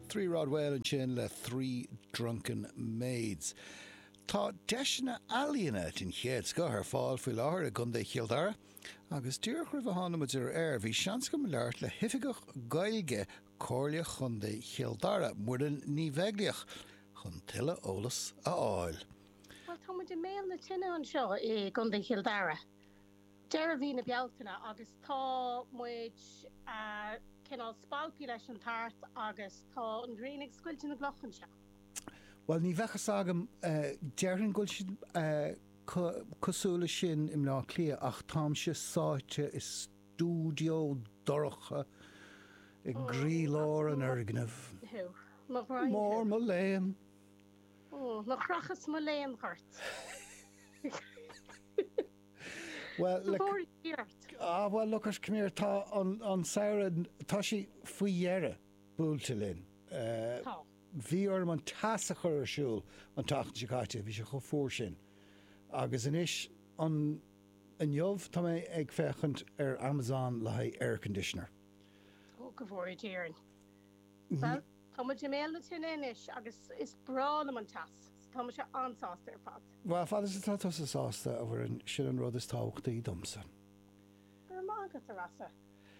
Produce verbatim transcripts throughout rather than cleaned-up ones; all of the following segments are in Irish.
Three Rod Whale ansin le Three Drunken Maids. Tá deiseanna ealaíona den chéad scoth ar fáil faoi láthair i gContae Chill Dara, agus díreach roimh a tháinig muid ar aer bhí seans agam labhairt le hOifigeach Gaeilge Comhairle Chontae Chill Dara, Muireann Ní Bheaglaoich, chun tuilleadh eolas a fháil. Bhuel, tá muid i mbéal na tine anseo i gContae Chill Dara, deireadh mhí na Bealtaine, agus tá muid cineál spalptha leis an tart agus tá an ghrian ag scoilteadh na gcloch anseo. Bhuel, ní bheadh fhios agam, déarfainn go bhfuil siad cosúil leis sin i mBleá Cliath ach táimse sáite i stiúideo dorcha i gcroílár an fhoirgnimh. Mo ghraidhin thú. Mór mo léan. Ó, mo chrochas mo léan ort. Bhuel, Go bhfóire Dia ort. Ah, bhuel, look at, come here, tá an, an samhradh, tá sé faoi dheireadh buailte linn. Tá. Bhí orm an teas a chur ar siúl an tseachtain seo caite, bhí sé chomh fuar sin. Agus anois, an, inniu, tá mé ag féachaint ar Amazon le haghaidh air conditioner. Ó, go bhfóire Dia orainn. Bhuel, tá muid i mbéal na tine anois agus is breá liom an teas, so tá mise an-sásta ar fad. Bhuel, fad is atá tusa sásta, a Mhuireann, sin an rud is tábhachtaí domsa. Go raibh maith agat, a Rossa.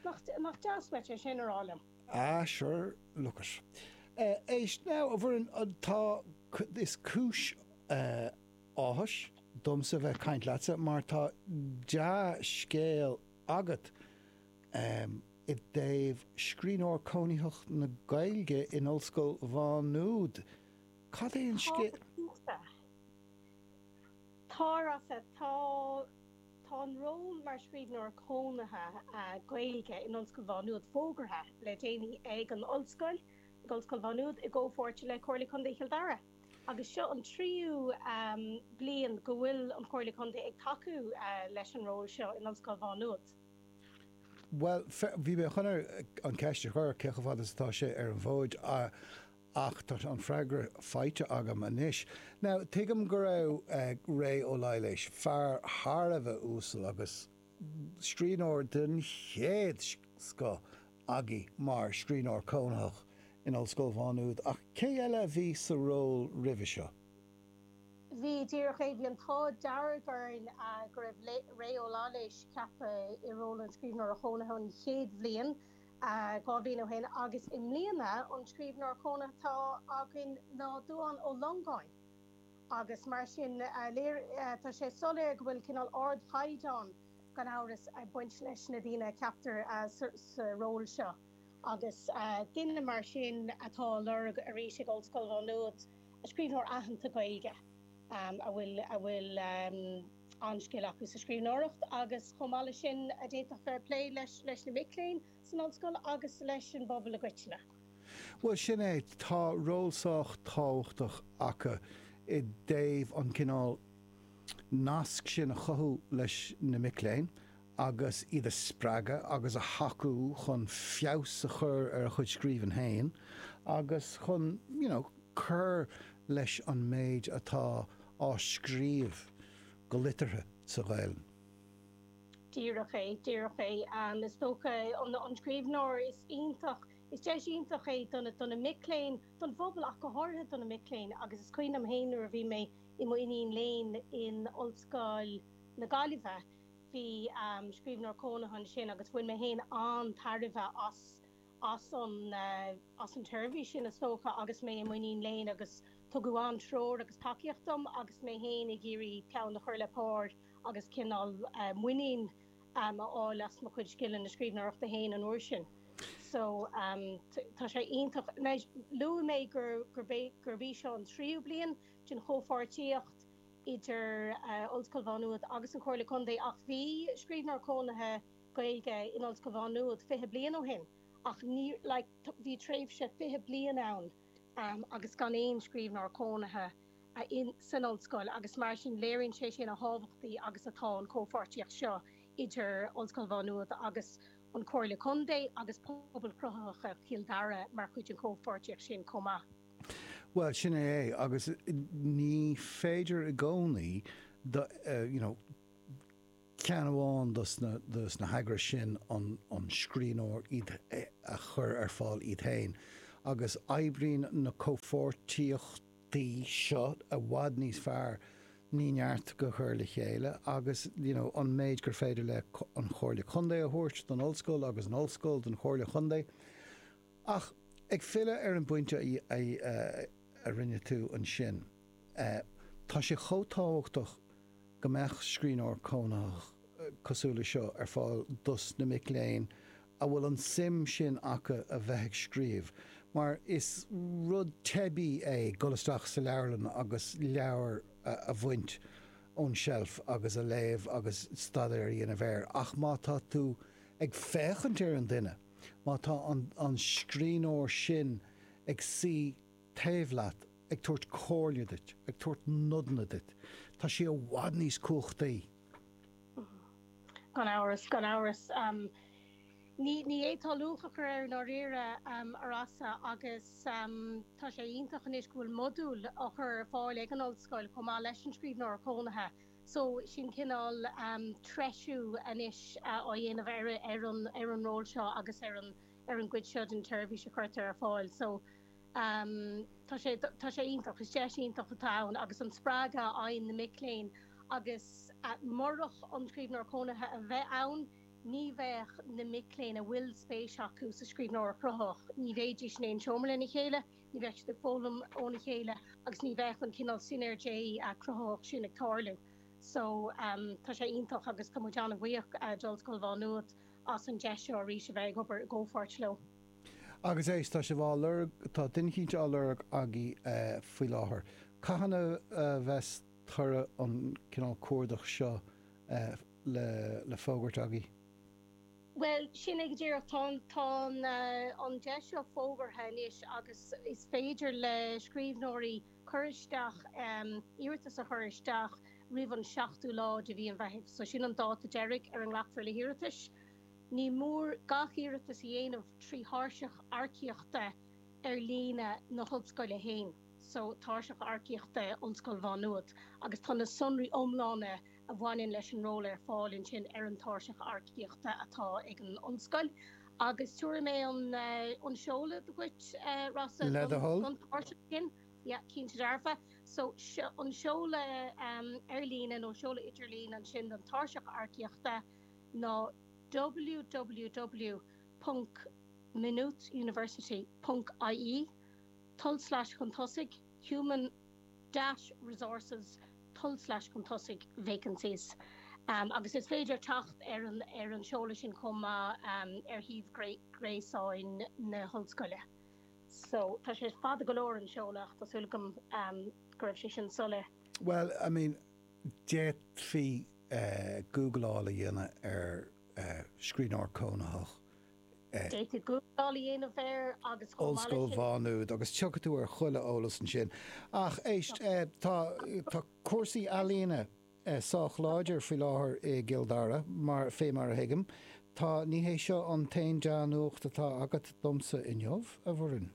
Nach, nach deas uait é sin a rá liom. Ah, sure, look it. Éist, now, a Mhuireann, tá, is cúis áthais domsa bheith ag caint leatsa mar tá dea-scéal agat i dtaobh scríbhneoir cónaitheach na Gaeilge in Ollscoil Mhá Nuad. Cad é an scéal? Tá, Tá, a Rossa, tá, tá an ról mar scríbhneoir cónaithe Gaeilge in Ollscoil Mhá Nuad fógartha le déanaí ag an Ollscoil, ag Ollscoil Mhá Nuad i gcomhpháirt le Comhairle Contae Chill Dara. Agus seo an tríú bliain go bhfuil an Chomhairle Contae ag tacú leis an ról seo in Ollscoil Mhá Nuad. Bhuel, bhí mé chun an cheist a chur, cé chomh fada is atá sé ar an bhfód, ach tá an freagra faighte agam anois. Now, tuigim go raibh Ré Ó Laighléis, fear thar a bheith uasal agus scríbhneoir den chéad scoth agaibh mar scríbhneoir cónaitheach in Ollscoil Mhá Nuad, ach cé eile a bhí sa ról roimhe seo? Bhí, díreach é. Bhí an t-ádh dearg orainn go raibh Ré Ó Laighléis ceaptha i ról an scríbhneora chónaithe an chéad bhliain, dhá bhliain ó shin, agus i mbliana an scríbhneoir cónaithe atá againn ná Dubhán Ó Longáin agus mar sin tá sé soiléir go bhfuil cineál ardchaighdeán gan amhras ag baint leis na daoine a cheaptar sa ról seo agus duine mar sin atá á lorg arís ag Ollscoil Mhá Nuad. Scríbhneoir aitheanta Gaeilge a bhfuil a bhfuil an-scil acu sa scríbhneoireacht agus chomh maith leis sin a d'fhéadfadh bheith ag plé leis leis na mic léinn san ollscoil agus leis an bpobal i gcoitinne. Bhuel, sin é, tá ról sách tábhachtach acu i dtaobh an cineál nasc sin a chothú leis na mic léinn agus iad a spreagadh agus a thacú chun feabhas a chur ar a chuid scríbhinn féin agus chun, you know, cur leis an méid atá á scríobh go liteartha sa Ghaelainn. Díreach é, díreach é. Is dócha an scríbhneoir is iontach, is deis iontach é do na, do na mic léinn, don phobal ach go háirithe do na mic léinn agus is cuimhin liom féin nuair a bhí mé i m'iníon léinn in Ollscoil na Gaillimhe, bhí scríbhneoir cónaithe ansin agus bhain mé féin an-tairbhe as as an as an tseirbhís sin is dócha agus mé i m'iníon léinn agus tugadh an-treoir agus tacaíocht dom agus mé féin ag iarraidh peann a chur le pár agus cineál muinín a fháil as mo chuid scileanna scríbhneoireachta féin an uair sin. So tá sé iontach. Luaigh mé gur gurb í seo an tríú bliain den chomhpháirtíocht idir Ollscoil Mhá Nuad agus an Chomhairle Contae ach bhí scríbhneoir cónaithe Gaeilge in Ollscoil Mhá Nuad fiche bliain ó shin ach ní like bhí tréimhse fiche bliain ann agus gan aon scríbhneoir cónaithe in san ollscoil agus mar sin léiríonn sé sin a thábhachtaí agus atá an chomhpháirtíocht seo idir Ollscoil Mhá Nuad agus an Chomhairle Contae agus Pobal Cruthaitheach Chill Dara mar chuid den chomhpháirtíocht sin chomh maith. Bhuel, sin é é agus ní féidir i gcónaí do you know ceann amháin dos na dos na heagrais sin an an scríbhneoir iad a chur ar fáil iad féin agus oibríonn na comhpháirtíochtaí seo i bhfad níos fearr ní neart go chur le chéile agus you know, an méid gur féidir le an Chomhairle Contae a thabhairt don ollscoil agus an ollscoil don Chomhairle Chontae. Ach ag filleadh ar an bpointe a, a, a rinne tú ansin, tá sé chomh tábhachtach go mbeadh scríbhneoir cónaitheach cosúil leis seo ar fáil dos na mic léinn a bhfuil an suim sin acu a bheith ag scríobh, mar is rud teibí é dul isteach sa leabharlann agus leabhar a bhaint ón tseilf agus a léamh agus staidéar a dhéanamh air, ach má tá tú ag féachaint ar an duine, má tá an, an scríbhneoir sin ag suí taobh leat, ag tabhairt comhairle duit, ag tabhairt nodanna duit, tá sé i bhfad níos cumhachtaí. Gan amhras, gan amhras. Um, ní ní fhéadfá luach a chur air i ndáiríre um, a Rossa agus um, tá sé iontach anois go bhfuil modúl á chur ar fáil ag an ollscoil chomh maith leis an scríbhneoir cónaithe. So sin cineál um, treisiú anois uh, á dhéanamh ar, ar, an, ar an ról seo agus ar an, ar an gcuid seo den tseirbhís a chuirtear ar fáil. So um, tá sé tá sé iontach is deis iontach atá ann agus an spreagadh a fhaigheann na mic léinn agus uh, murach an scríbhneoir cónaithe a bheith ann, ní bheadh na mic léinn a bhfuil spéis acu sa scríbhneoireacht chruthaitheach, ní bheidís in aon seomra lena chéile, ní bheadh siad ag foghlaim óna chéile agus ní bheadh an cineál sineirgí uh, cruthaitheach sin ag tarlú. So um, tá sé iontach agus tá muid an-bhuíoch uh, d'Ollscoil Mhá Nuad as an deis seo arís a bheith ag obair i gcomhpháirt leo. Agus éist tá sibh á lorg tá duine éicint á lorg agaibh uh, faoi láthair. Cathain a uh, bheas toradh an cineál cuardach seo uh, le, le fógairt agaibh? Well sin é go díreach tá tá uh, an deis seo fógartha anois agus is féidir le scríbhneoirí cur isteach um, iarratas a chur isteach roimh an seachtú lá de mhí an Mheithimh, so sin an dáta deiridh ar a nglacfar le hiarratais. Ní mór gach iarratas a dhéanamh trí thairseach earcaíochta ar líne na hollscoile féin, so tairseach earcaíochta Ollscoil Mhá Nuad, agus tá na sonraí iomlána a bhaineann leis an ról ar fáil ansin ar an tairseach earcaíochta atá ag an ollscoil. Agus tabharfaidh mé an, uh, an seoladh duit uh, Rossa Le do thoil? don tairseach sin. Yeah, cinnte dearfa. So an seoladh um, ar líne nó seoladh idirlín ansin don tairseach earcaíochta ná www.maynoothuniversity.ie tulslais chun tosaigh human dash resources tulslais chun tosaigh vacancies. Um, agus is féidir teacht ar an ar an seoladh sin chomh maith um, ar shuíomh gréasáin na hollscoile. So tá sé fada go leor an seoladh tá súil agam um, go raibh sé sin soiléir. Well, I mean, d'fhéadfaí uh, Googleáil a dhéanamh ar uh, scríbhneoir cónaitheach. Uh, D'fhéadfaí Googleáil a dhéanamh air agus chomh maith Ollscoil leis sin- Mhá Nuad agus tiocfaidh tú ar chuile eolas ansin. Ach éist uh, tá tá cúrsaí ealaíne uh, sách láidir faoi láthair i gCill Dara mar fé mar a thuigim. Tá ní hé seo an t-aon dea-nuacht atá agat domsa inniu a Mhuireann.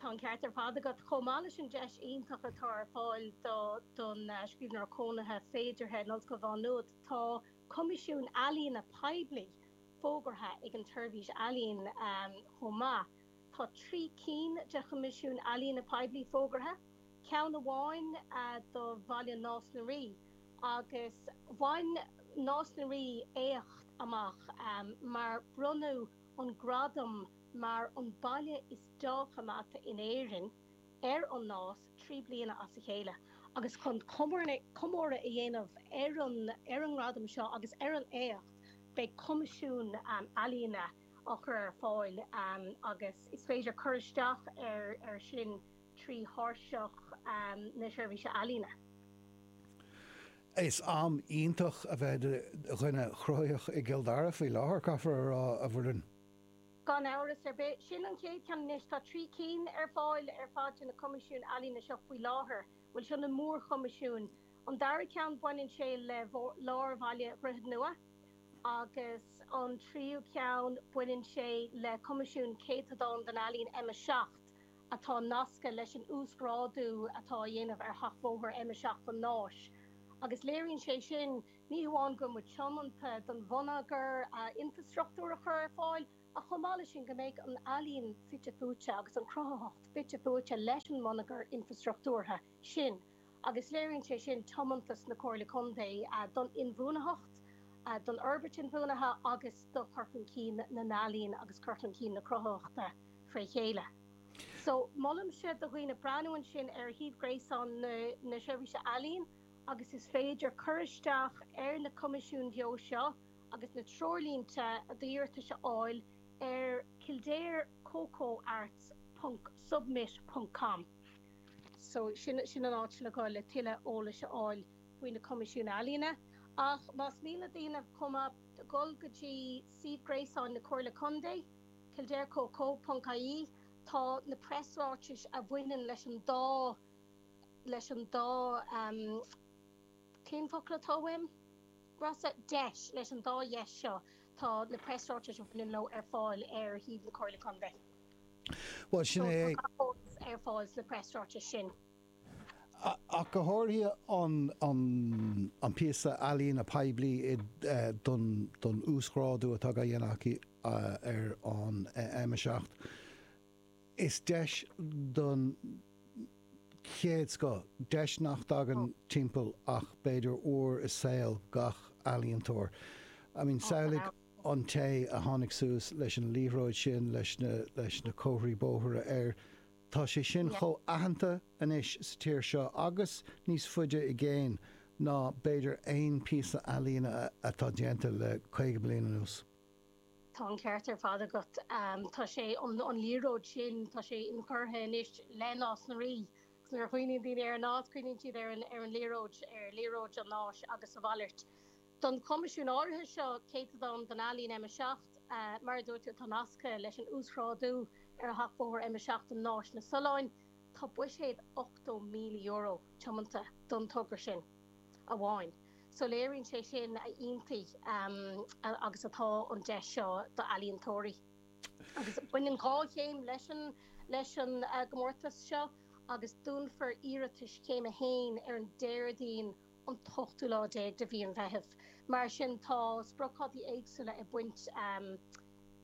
Tá an ceart ar fad agat chomh maith leis an deis iontach atá ar fáil do don uh, scríbhneoir cónaithe féideartha in Ollscoil Mhá Nuad tá Coimisiún Ealaíne Poiblí fógartha ag an tSeirbhís Ealaíon um, chomh maith. Tá trí cinn de Choimisiún Ealaíne Poiblí fógartha, ceann amháin uh, do bhaile Nás na Rí agus bhain Nás na Rí éacht amach um, mar bronnadh an gradam mar an baile is dea-choimeádta in Éirinn ar an Nás trí bliana as a chéile. agus chun comóradh a dhéanamh ar an ar an ngradam seo agus ar an éacht beidh coimisiún um, ealaíne á chur ar fáil um, agus is féidir cur isteach ar ar sin trí thairseach um, na seirbhíse ealaíne. Is am iontach a bheith i do dhuine cruthaitheach i gCill Dara faoi láthair caithfear a rá a Mhuireann. Gan amhras ar bith sin an chéad cheann anois tá trí cinn ar fáil ar fad na coimisiún ealaíne seo faoi láthair, bhfuil seo na mórchoimisiúin. An dara ceann baineann sé le lár bhaile Dhroichead Nua agus an tríú ceann baineann sé le coimisiún céatadán den ealaín M a seacht atá nasctha leis an uasghrádú atá á dhéanamh ar sheachbhóthar M a seacht an Náis. Agus léiríonn sé sin ní hamháin go bhfuil muid tiomanta don bhonneagar infrastruchtúr a chur ar fáil, Ach chomh maith leis sin go mbeidh an ealaín fite fuaite agus an chruthaitheacht fite fuaite leis an mbonneagar infreastruchtúrtha sin agus léiríonn sé sin tiomantas na Comhairle Contae don inbhuanaitheacht, don fhorbairt inbhuanaithe agus do chur chun cinn na n-ealaíon agus cur chun cinn na cruthaitheachta fré chéile. So molaimse do dhaoine breathnú ansin ar shuíomh gréasáin na Seirbhíse Ealaíon agus is féidir cur isteach ar na coimisiúin bheo seo agus na treoirlínte d'iarratais a fháil ar kildarecocoarts ponc submit ponc com. So sin sin an áit le dhul le tuilleadh eolais a fháil faoi na coimisiúin ealaíne. Ach más mian le daoine chomh maith dul go dtí suíomh gréasáin na Comhairle Contae, kildarecoco ponc ie, tá na preasráitis a bhaineann leis an dá leis an dá um, cén focal atá uaim? Rossa, deis, leis an dá dheis seo, tá na preasráitis a bhaineann leo ar fáil ar shuíomh na Comhairle Contae. Bhuel, sin é. Tá gach eolas ar fáil sna preasráitis sin. Ach go háirithe an an an píosa ealaíne poiblí don don uasghrádú atá á dhéanamh acu ar an M a seacht. Is deis don chéad scoth, deis nach dtagann timpeall ach b'fhéidir uair i saol gach ealaíontóir. I mean, samhlaigh an té a tháinig suas leis an liathróid sin leis na leis na comharthaí bóthair air, tá sé sin chomh aitheanta anois sa tír seo agus níos faide i gcéin ná b'fhéidir aon píosa ealaíne atá déanta le caoga bliain anuas. Tá an ceart ar fad agat. Tá sé, an liathróid sin, tá sé inchurtha anois le Nás na Rí. Agus nuair a chuimhníonn daoine ar an Nás, cuimhníonn siad ar an ar an liathróid, ar liathróid an Náis agus a mhalairt. Don choimisiún áirithe seo, Céatadán don Ealaín M a seacht, mar a dúirt tú, atá nasctha leis an uasghrádú ar sheachbhóthar M a seacht an Náis na Solláin, tá buiséad ochtó míle euro tiomanta don togra sin amháin. So léiríonn sé sin a iontaí agus atá an deis seo d'ealaíontóirí. Agus baineann dhá chéim leis an leis an gcomórtas seo agus dúnfar iarratais chéim a haon ar an Déardaoin an t-ochtú lá déag de mhí an Mheithimh. Mar sin tá spriocdhátaí éagsúla ag baint,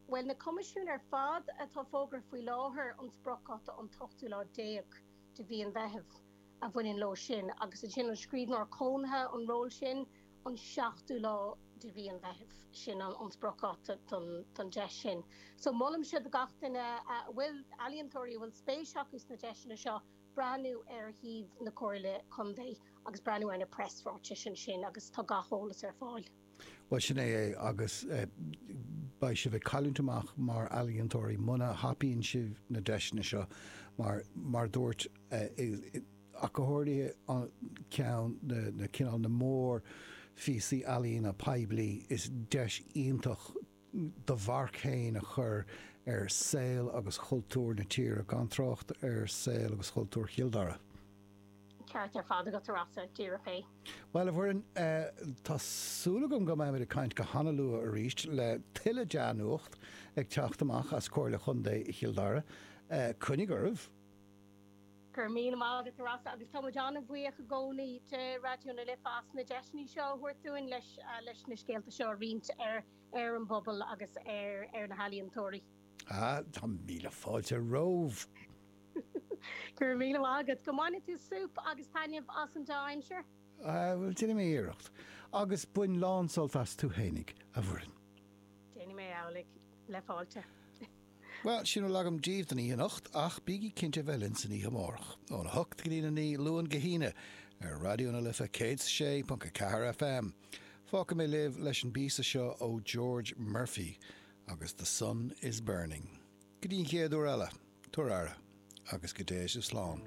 bhuel na coimisiúin ar fad atá fógartha faoi láthair, an spriocdháta an t-ochtú lá déag de mhí an Mheithimh a bhaineann leo sin agus ansin an scríbhneoir cónaithe, an ról sin, an seachtú lá de mhí an Mheithimh, sin an spriocdháta don deis sin. So molaimse do gach duine a bhfuil, ealaíontóirí a bhfuil spéis acu sna deiseanna seo, breathnú ar shuíomh na Comhairle Contae agus breathnú ar na preasráitis ansin agus tá gach eolas ar fáil. Bhuel, sin é é agus beidh sibh ag cailliúint amach mar ealaíontóirí muna thapaíonn sibh na deiseanna seo mar, mar dúirt, ach go háirithe an ceann, na cineál na mór phíosaí ealaíne poiblí, is deis iontach do mharc féin a chur ar saol agus chultúr na tíre, gan trácht ar saol agus chultúr Chill Dara. Ceart ar fad agat, a Rossa, díreach é. Bhuel, a Mhuireann, tá súil agam go mbeimid ag caint go hana-luath arís le tuilleadh dea-nuacht ag teacht amach as Comhairle Chontae Chill Dara. Coinnigh oraibh! Go raibh míle maith agat, a Rossa, agus tá muid an-bhuíoch i gcónaí de Raidió na Life as na deiseanna seo a thabhairt dúinn leis leis na scéalta seo a roinnt ar ar an bpobal agus ar ar na healaíontóirí. Ah, tá míle fáilte romhaibh! Go raibh míle maith agat. Go mbaine tú súp agus taitneamh as an dea-aimsir. Ah, bhuel, déanfaidh mé iarracht. Agus bain lán-sult as tú fhéinig, a Mhuireann. Déanfaidh mé amhlaidh, le fáilte. Bhuel, sin a bhfuil agam daoibh don oíche anocht, ach bígí cinnte bheith linn san oíche amárach, óna hocht go dtína naoi, Luan go hAoine, ar Raidió na Life céad is a sé ponc a ceathair F M. Fágfaidh mé libh leis an bpíosa seo ó George Murphy agus The Sun is Burning. Go dtí an chéad uair eile, tabhair aire, agus go dté sibh slán.